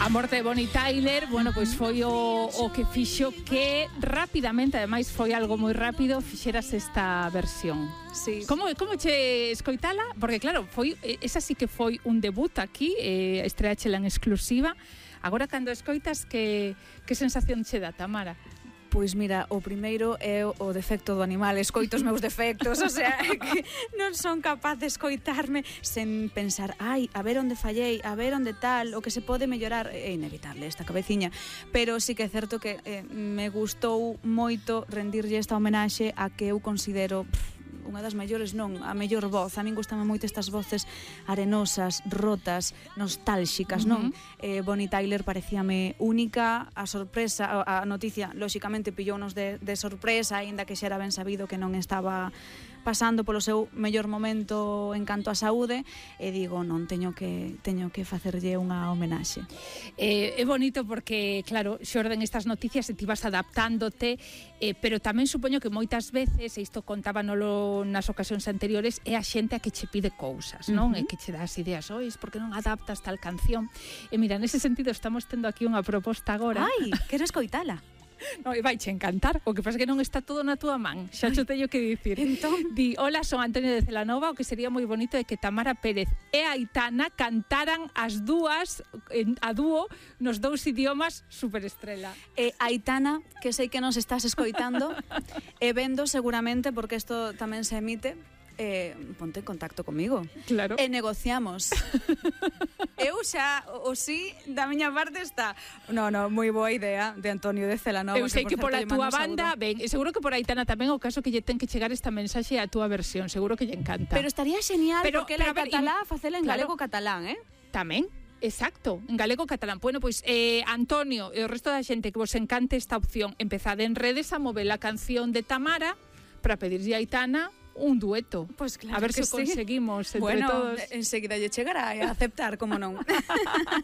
A morte de Bonnie Tyler, bueno, pois foi o que fixo que rapidamente, ademais foi algo moi rápido, fixeras esta versión. Sí. Como che escoitala? Porque claro, esa sí que foi un debut aquí, estreáchela en exclusiva. Agora cando escoitas, que sensación che dá, Tamara? Pois mira, o primeiro é o defecto do animal, escoito os meus defectos, o sea, que non son capaz de escoitarme sen pensar, ai, a ver onde fallei, a ver onde tal, o que se pode mellorar, é inevitable esta cabeciña, pero sí que é certo que me gustou moito rendirlle esta homenaxe a que eu considero unha das mellores, non, a mellor voz. A min gustame moito estas voces arenosas, rotas, nostálxicas, non? Bonnie Tyler parecíame única, a sorpresa, a noticia, lóxicamente, pillounos de sorpresa, aínda que xa era ben sabido que non estaba pasando polo seu mellor momento en canto a saúde, e digo, non, teño que facerlle unha homenaxe. É bonito porque, claro, xorden estas noticias e ti vas adaptándote, pero tamén supoño que moitas veces, e isto contábanolo nas ocasións anteriores, é a xente a que che pide cousas, non? E que che dá as ideas, ois, por que non adaptas tal canción? E mira, nese sentido estamos tendo aquí unha proposta agora. Ai, quero escoitala. No, e vaiche encantar, o que pasa é que non está todo na túa man, xa cho teño que dicir. Entón, Di, hola, son Antonio de Celanova, o que sería moi bonito é que Tamara Pérez e Aitana cantaran as dúas a dúo nos dous idiomas superestrela. Aitana, que sei que nos estás escoitando, e vendo seguramente, porque isto tamén se emite, ponte en contacto comigo. Claro. E negociamos. Eu xa, o sí, da miña parte está. No, moi boa idea de Antonio de Celanova. Eu sei que pola túa banda, ben, e seguro que por Aitana tamén o caso que lle ten que chegar esta mensaxe a túa versión, seguro que lle encanta. Pero estaría genial, porque ela é catalá, facela en claro, galego-catalán, Tamén. Exacto, en galego-catalán. Bueno, pois Antonio e o resto da xente que vos encante esta opción, empezade en redes a mover a canción de Tamara para pedirlle a Aitana un dueto. Pues claro, a ver se sí. conseguimos entre todos. Enseguida lle chegará a aceptar, como non.